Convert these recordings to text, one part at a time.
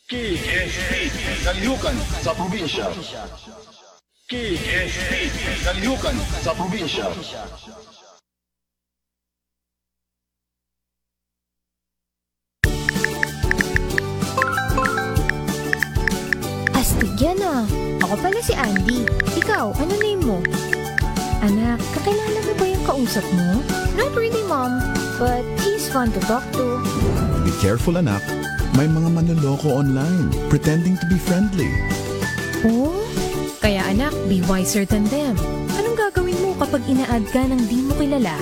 KSP, Kalihukan sa Probinsya. KSP, Kalihukan sa Probinsya. Astig yan ah. Ako pala si Andy. Ikaw, ano name mo? Anak, kakilala mo ba yung kausap mo? Not really, Mom. But he's fun to talk to. Be careful, anak. May mga manloloko online, pretending to be friendly. Oh? Kaya anak, be wiser than them. Anong gagawin mo kapag ina-add ka ng di mo kilala?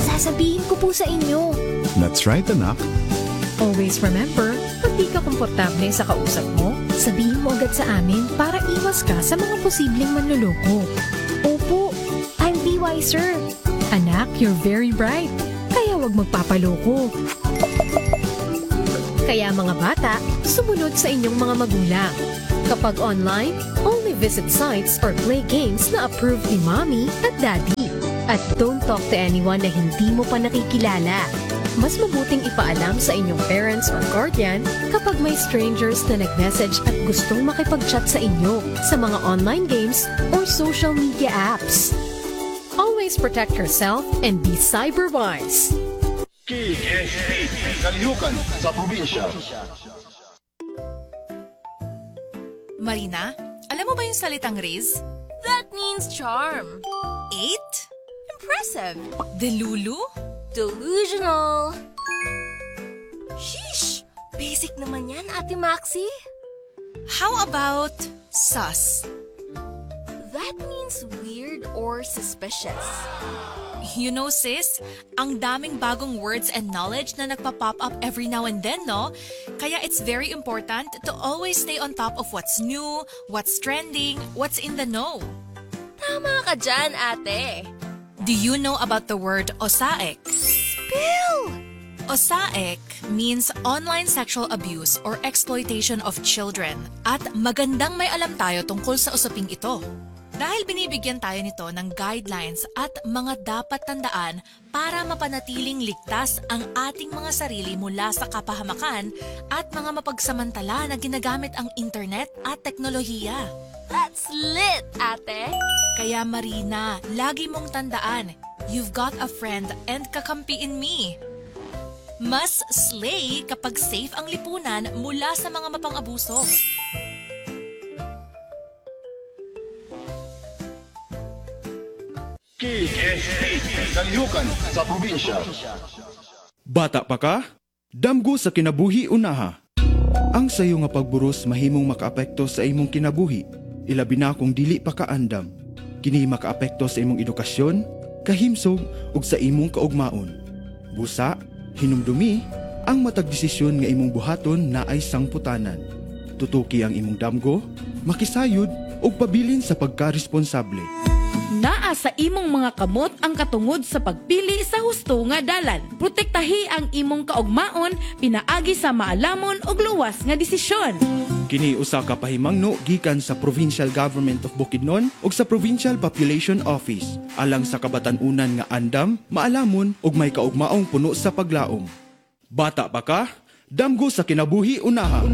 Sasabihin ko po sa inyo. That's right, anak. Always remember, pag di ka komportable sa kausap mo, sabihin mo agad sa amin para iwas ka sa mga posibleng manloloko. Opo, I'll be wiser. Anak, you're very bright. Kaya wag magpapaloko. Kaya mga bata, sumunod sa inyong mga magulang. Kapag online, only visit sites or play games na approved ni Mommy at Daddy. At don't talk to anyone na hindi mo pa nakikilala. Mas mabuting ipaalam sa inyong parents or guardian kapag may strangers na nag-message at gustong makipag-chat sa inyo sa mga online games or social media apps. Always protect yourself and be cyber-wise. KSP, Kalihukan sa Probinsya. Marina, alam mo ba yung salitang Riz? That means charm. Eight? Impressive. Delulu? Delusional. Sheesh! Basic naman yan, Ate Maxi. How about sus? That means weird or suspicious. You know, sis, ang daming bagong words and knowledge na nagpa-pop up every now and then, no? Kaya it's very important to always stay on top of what's new, what's trending, what's in the know. Tama ka dyan, ate. Do you know about the word osaek? Spill! Osaek means online sexual abuse or exploitation of children, at magandang may alam tayo tungkol sa usaping ito. Dahil binibigyan tayo nito ng guidelines at mga dapat tandaan para mapanatiling ligtas ang ating mga sarili mula sa kapahamakan at mga mapagsamantala na ginagamit ang internet at teknolohiya. That's lit, ate. Kaya Marina, lagi mong tandaan, you've got a friend and kakampi in me. Mas slay kapag safe ang lipunan mula sa mga mapang-abuso. KSP, Kalihukan sa Probinsya. Bata pa ka? Damgo sa kinabuhi unaha. Ang sayo nga pagburos mahimong makaapekto sa imong kinabuhi, ilabi na kung dili pa ka andam. Kini makaapekto sa imong edukasyon, kahimsog ug sa imong kaugmaon. Busa, hinumdumi, ang matag desisyon nga imong buhaton naay sangputanan. Tutuki ang imong damgo, makisayod ug pabilin sa pagkaresponsable. Naa sa imong mga kamot ang katungod sa pagpili sa husto nga dalan. Protektahi ang imong kaugmaon pinaagi sa maalamon ug luwas nga desisyon. Kini usa ka pahimangno gikan sa Provincial Government of Bukidnon ug sa Provincial Population Office alang sa kabatan-unan nga andam, maalamon ug may kaugmaong puno sa paglaom. Bata pa ka? Damgo sa kinabuhi unaha.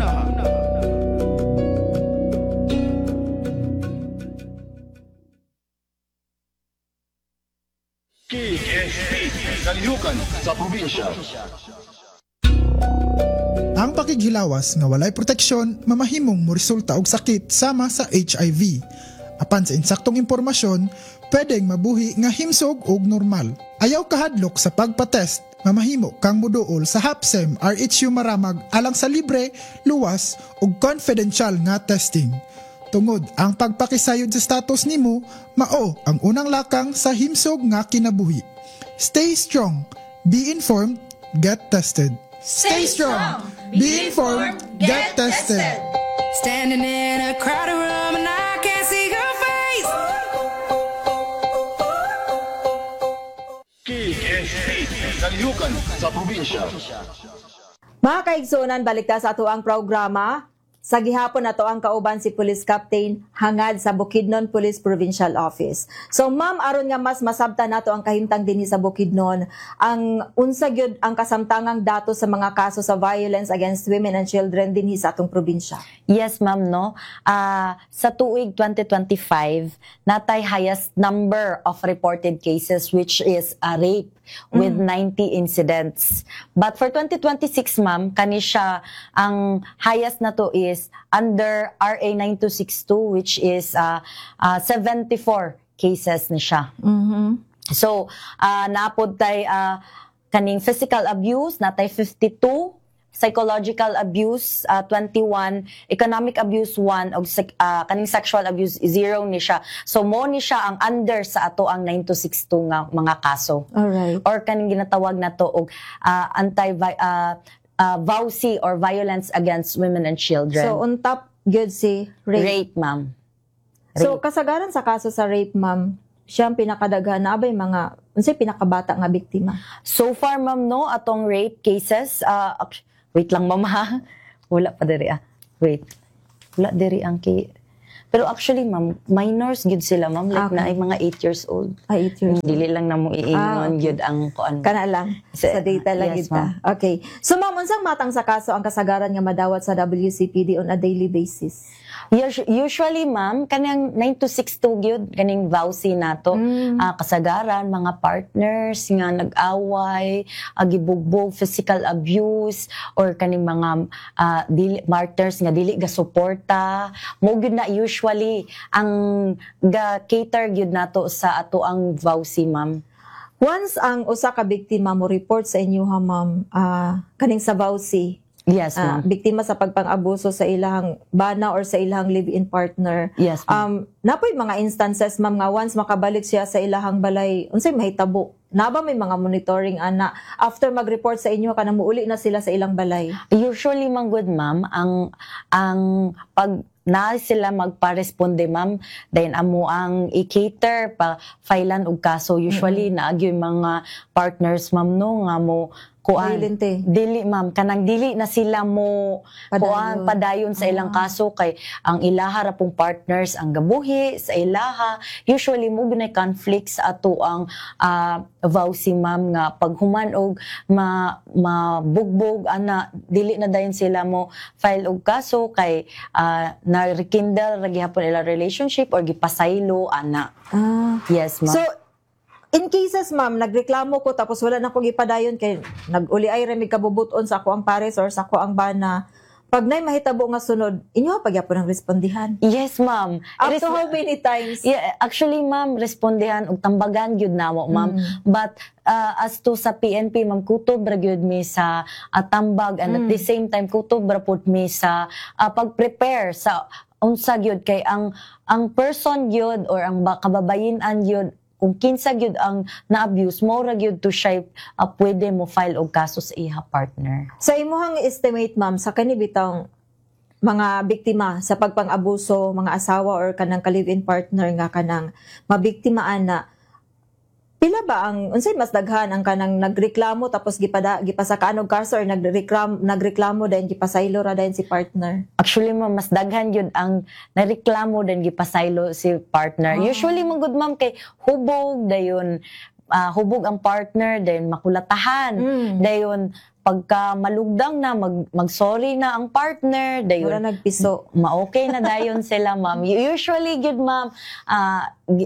KSP, Kalihukan sa Probinsya. Ang pakighilawas nga walay proteksyon mamahimong moresulta og sakit sama sa HIV. Apan sa insaktong impormasyon, pwedeng mabuhi nga himsog og normal. Ayaw kahadlok sa pagpatest, mamahimo kang muduol sa HAPSEM RHU Maramag alang sa libre, luwas ug confidential nga testing. Tungod ang pagpakisayod sa status nimo, mao ang unang lakang sa himsog nga kinabuhi. Stay strong, be informed, get tested. Stay strong, be informed, get tested. Standing in a crowded room and I can't see your face. KSP, Kalihukan sa Probinsya. Mga kaigsunan, balik ta sa ato ang programa. Sa gihapon nato ang kauban si Police Captain Hangad sa Bukidnon Police Provincial Office. So ma'am, aron nga mas masabtan nato ang kahimtang dinhi sa Bukidnon, ang unsa gyud ang kasamtangang dato sa mga kaso sa violence against women and children dinhi sa atong probinsya? Yes, ma'am, no. Sa tuig 2025, natay highest number of reported cases, which is a rape with 90 incidents. But for 2026, ma'am, kani siya ang highest na to is under RA 9262, which is 74 cases ni siya. So, napod tay kaning physical abuse, natay 52, psychological abuse 21, economic abuse 1 ug kaning sexual abuse 0 ni siya. So mo ni siya ang under sa ato ang 9262 nga mga kaso. Or kaning ginatawag nato og anti VAWC or violence against women and children. So on top gyud si rape. Rape, ma'am. So kasagaran sa kaso sa rape, ma'am, siya ang pinakadaghan na abay mga unsay pinakabata nga biktima? So far, ma'am, no, atong rape cases, wait lang, ma'am, ha. Wala pa diri ah. Wait. Wala diri ang kay. Pero actually, ma'am, minors gyud sila, ma'am. Like na ay mga 8 years old. Ah, 8 years. Dili lang na mo iingon gyud ang kuan. Kana lang. Sa data lang Yes, gyud ta. Ma'am. Okay. So ma'am, unsang matang sa kaso ang kasagaran nga madawat sa WCPD on a daily basis? Usually, ma'am, kanang 9262 gyud, kaning VAWC nato. Kasagaran mga partners nga nag-away, gibugbog, physical abuse or kaning mga dili partners nga dili ga suporta. Mo gyud na usually ang ga cater gyud nato sa ato ang VAWC, ma'am. Once ang usa ka biktima mo report sa inyo ha, ma'am, kaning sa VAWC, Yes, ma'am. Biktima sa pagpang-abuso sa ilahang bana or sa ilahang live-in partner. Yes, ma'am. Napoy mga instances, ma'am, nga once makabalik siya sa ilahang balay, unsay mahitabo? Naba may mga monitoring ana after mag-report sa inyo kanang muuli na sila sa ilang balay? Usually man good, ma'am, ang pag na sila magpa-responde, ma'am, then amo ang i-cater pa filean og kaso. Usually naagyoy mga partners, ma'am, no, nga mo kuan Violente. Dili, ma'am, kanang dili na sila mo Padayon. Kuan padayon sa ilang kaso kay ang ilaha ra pong partners ang gabuhi sa ilaha. Usually mo gunay conflict sa ato ang VAWC, ma'am, nga paghuman og ma mabugbog ana, dili na dayon sila mo file og kaso kay na rekindle ra gihapon ila relationship or gipasaylo ana. Yes, ma'am. So, in cases, ma'am, nagreklamo ko tapos wala na akong ipadayon kay nag-uli ay ra mig kabubuton sa ako ang pares or sa ako ang bana. Pag nay mahitabo nga sunod, inyo pagyapon ang respondihan? Yes, ma'am. Up to how many times? Yeah, actually, ma'am, respondihan og tambagan gyud namo, ma'am. But as to sa PNP, ma'am, kutob ra gyud mi sa tambag and at the same time kutob ra pud mi sa pag-prepare sa unsa gyud kay ang person gyud or ang kababayen-an gyud, kung kinsa gyud ang na-abuse mo ra gyud to siya pwede mo file og kaso sa iha partner. Sa imuhang estimate, ma'am, sa kani bitang mga biktima sa pagpang-abuso, mga asawa or kanang ka-live-in partner nga kanang mabiktimaan na, pila ba ang unsay mas daghan, ang kanang nagreklamo tapos gipasakaan og kaso or nagreklamo dayon gipasaylo ra dayon si partner? Actually, ma'am, mas daghan yun ang nareklamo dan gipasaylo si partner. Usually, man good, ma'am, kay hubog dayon hubog ang partner, dayon makulatahan. Dayon pagka malugdang na, mag-sorry na ang partner, dayon Wala nagpiso. Ma-okay na dayon sila, ma'am. Usually gyud, ma'am,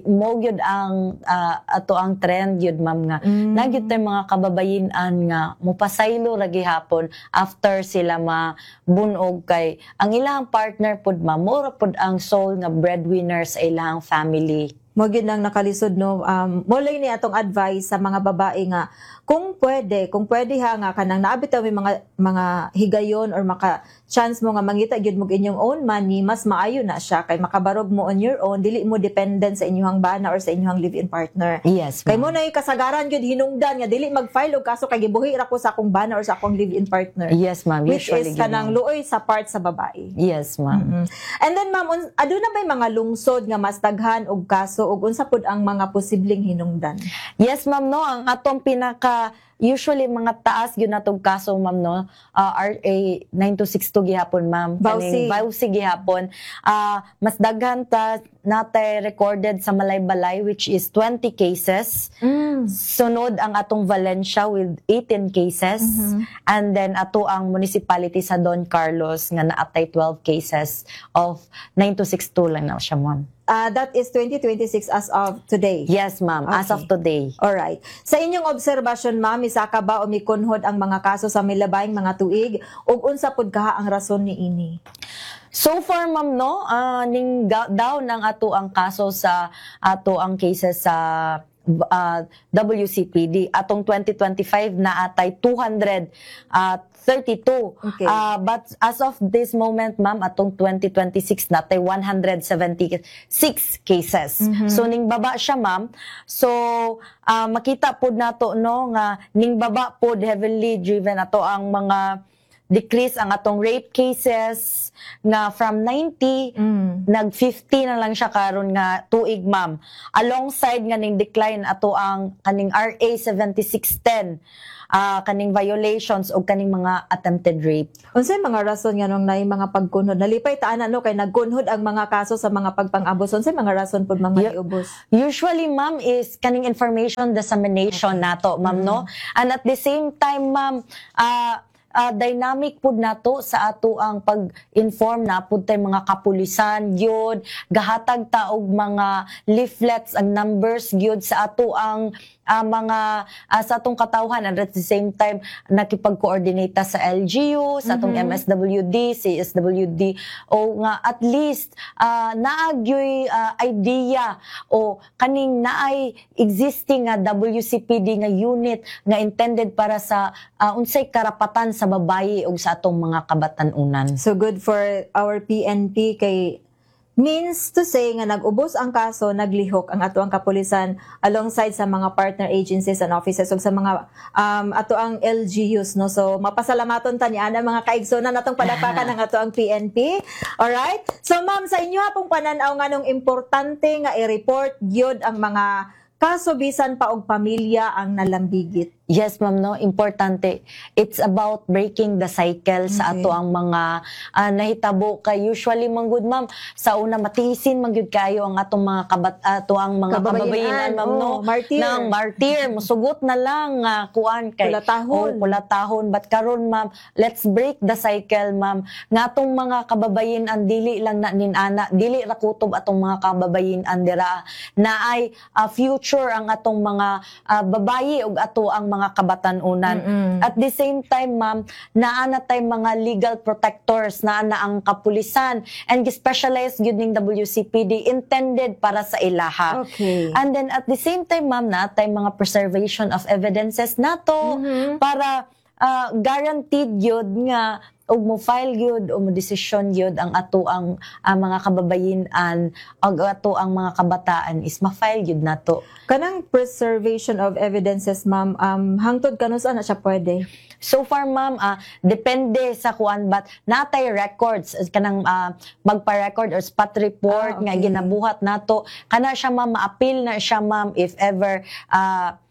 mo gyud ang ato ang trend gyud, ma'am, nga na gyud tay mga kababayen-an nga mopasaylo ra gihapon after sila mabunog kay ang ilang partner pud, ma'am, mura pud ang sole nga breadwinner sa ilang family. Mo gyud nang nakalisod, no. Mo lang ni atong advice sa mga babae nga kung pwede ha, nga kanang naa bitaw may mga higayon or maka chance mo nga mangita gyud mo inyong own money, mas maayo na siya kay makabarog mo on your own, dili mo dependent sa inyong bana or sa inyong live-in partner. Kay mo na kasagaran gyud hinungdan nga dili mag-file og kaso kay gibuhi ra ko sa akong bana or sa akong live-in partner. Yes, ma'am. Which Usually is gyud, kanang ma'am. luoy sa part sa babae. Yes, ma'am. And then ma'am, aduna bay mga lungsod nga mas daghan og kaso ug unsa pud ang mga posibleng hinungdan? Yes, ma'am, no, ang atong pinaka Usually mga taas gyud natong kaso, ma'am, no, RA 9262 gihapon, ma'am. VAWC. Kaning VAWC gihapon. Mas daghan ta natay recorded sa Malaybalay, which is 20 cases. Sunod ang atong Valencia with 18 cases and then ato ang municipality sa Don Carlos nga naatay 12 cases of 9262 lang na siya, ma'am. That is 2026 as of today. Yes, ma'am, as of today. Alright. Sa inyong obserbasyon, ma'am, misaka ba o mikunhod ang mga kaso sa milabayng mga tuig ug unsa pud kaha ang rason niini? So far, ma'am, no, ning down ang ato ang kaso sa ato ang cases sa WCPD. Atong 2025 na atay 232. But as of this moment, ma'am, atong 2026 natay 176 cases. So ning baba siya, ma'am. So makita pod nato, no, nga ning baba pod, heavily driven ato ang mga decrease ang atong rape cases nga from 90 nag 50 na lang siya karon nga tuig, ma'am, alongside nga ning decline ato ang kaning RA 7610, kaning violations o kaning mga attempted rape. Unsay mga rason nga nung naay mga pagkunhod? Nalipay ta ana, no, kay nagkunhod ang mga kaso sa mga pagpang-abos. Unsay mga rason pud mga niubos? Usually, ma'am, is kaning information dissemination nato, ma'am, no? And at the same time, ma'am, dynamic pud nato sa ato ang pag-inform na pud tay mga kapulisan gyud, gahatag ta og mga leaflets ang numbers gyud sa ato ang mga sa atong katawhan, and at the same time nakipag-coordinate ta sa LGU, sa atong MSWD, CSWD, o nga at least naa gyoy idea o kaning naay existing nga WCPD nga unit nga intended para sa unsay karapatan sa babayi ug sa atong mga kabatan-unan. So good for our PNP kay means to say nga nag-ubos ang kaso, naglihok ang ato ang kapulisan alongside sa mga partner agencies and offices ug sa mga ato ang LGUs, no? So mapasalamaton ta ni ana, mga kaigsonan, atong palakpakan ang ato ang PNP. Alright? So ma'am, sa inyo pong panan-aw, nganong importante nga i-report gyud ang mga kaso bisan pa og pamilya ang nalambigit? Yes, ma'am, no, importante. It's about breaking the cycle sa ato ang mga nahitabo kay usually man gud, ma'am, sa una matiisin man gyud kayo ang atong mga kabat ato ang mga Kababayenan, kababayenan, ma'am, no. Oh, martyr. Nang martyr, musugot na lang nga kuan kay Kulatahon. Oh, kulatahon. But karon, ma'am, let's break the cycle, ma'am. Nga atong mga kababayenan dili lang na nin-ana, dili ra kutob atong mga kababayenan dira na ay future ang atong mga babayi ug ato ang mga kabatan-unan. At the same time, ma'am, naa na tay mga legal protectors, naa na ang kapulisan and specialized gyud ning WCPD intended para sa ilaha. And then at the same time, ma'am, naa tay mga preservation of evidences nato para guaranteed gyud nga og mo file gyud o mo desisyon gyud ang ato ang mga kababayenan ug ato ang mga kabataan is ma-file gyud nato. Kanang preservation of evidences, ma'am, hangtod kanus-a na siya pwede? So far, ma'am, depende sa kuan, but natay records kanang magpa-record or spot report nga ginabuhat nato. Kana siya, ma'am, ma-appeal na siya, ma'am, if ever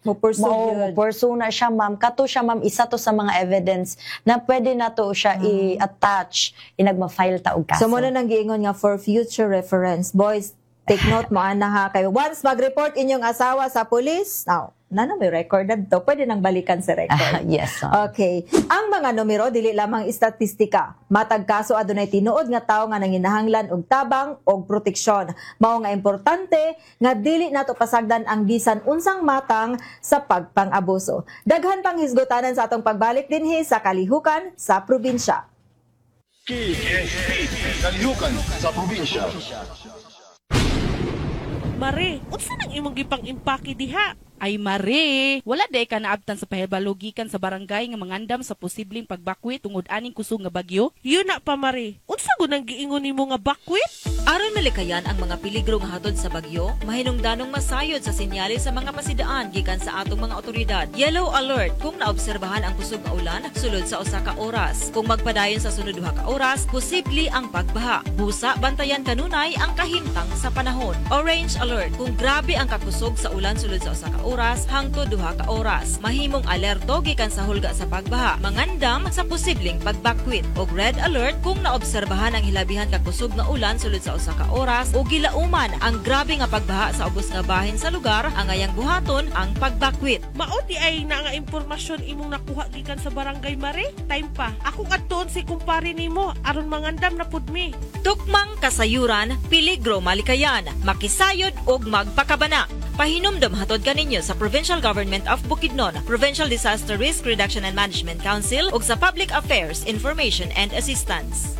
mo pursue mo gyud. Pursue na siya, ma'am. Kato siya, ma'am, isa to sa mga evidence na pwede nato siya i-attach inag ma-file ta og kaso. So mo na nang giingon nga for future reference. Boys, take note mo ana ha, kay once mag-report inyong asawa sa police, now, na may record to, pwede nang balikan sa record. Yes, ma'am. Okay. Ang mga numero dili lamang estatistika. Matag kaso adunay tinuod nga tawo nga nanginahanglan og tabang og proteksyon. Mao nga importante nga dili nato pasagdan ang bisan unsang matang sa pagpang-abuso. Daghan pang hisgutanan sa atong pagbalik dinhi sa Kalihukan sa Probinsya. KSP, Kalihukan sa Probinsya. Mare, unsa nang imong gipang-impake diha? Ay mare, wala day ka naabtan sa pahibalo gikan sa barangay nga mangandam sa posibleng pagbakwit tungod aning kusog nga bagyo? Yun na pa, mare. Unsa gud ang giingon nimo nga bakwit? Aron malikayan ang mga peligro nga hatod sa bagyo, mahinungdanong masayod sa senyales sa mga pasidaan gikan sa atong mga otoridad. Yellow alert kung naobserbahan ang kusog nga ulan sulod sa 1 ka oras. Kung magpadayon sa sunod 2 ka oras, posible ang pagbaha. Busa, bantayan kanunay ang kahimtang sa panahon. Orange alert kung grabe ang kakusog sa ulan sulod sa 1 ka oras hangtod 2 ka oras. Mahimong alerto gikan sa hulga sa pagbaha. Mangandam sa posibleng pagbakwit. Og red alert kung naobserbahan ang hilabihan kakusog nga ulan sulod sa 1 ka oras o gilauman ang grabe nga pagbaha sa ubos nga bahin sa lugar, angayang buhaton ang pagbakwit. Mao diay na nga impormasyon imong nakuha gikan sa barangay, Mare? Time pa. Akong adtuon si kumpare nimo aron mangandam na pud mi. Tukmang kasayuran, peligro malikayan, makisayod og magpakabana. Pahinumdom hatod kaninyo sa Provincial Government of Bukidnon, Provincial Disaster Risk Reduction and Management Council ug sa Public Affairs Information and Assistance.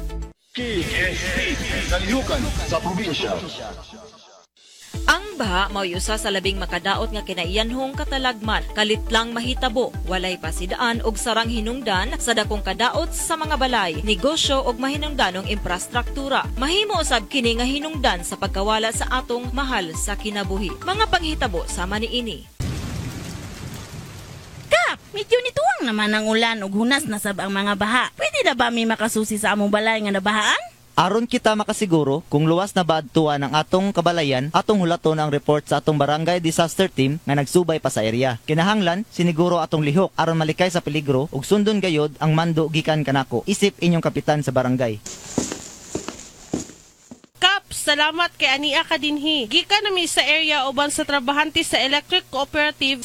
KSP, Kalihukan sa Probinsya. Ang baha mao'y usa sa labing makadaot nga kinaiyanhong katalagman, kalit lang mahitabo, walay pasidaan og sarang hinungdan sa dakong kadaot sa mga balay, negosyo ug mahinungdanong imprastruktura. Mahimo usab kini nga hinungdan sa pagkawala sa atong mahal sa kinabuhi. Mga panghitabo sama niini. Kap, medyo nituwang naman ang ulan ug hunas na sab ang mga baha. Pwede na ba mi makasusi sa among balay nga nabahaan? Aron kita makasiguro kung luwas na ba adtuan ang atong kabalayan, atong hulaton ang report sa atong barangay disaster team nga nagsubay pa sa area. Kinahanglan siniguro atong lihok aron malikay sa peligro ug sundon gayod ang mando gikan kanako. Isip inyong kapitan sa barangay. Kap, salamat kay ania ka dinhi. Gikan nami sa area uban sa trabahante sa Electric Cooperative.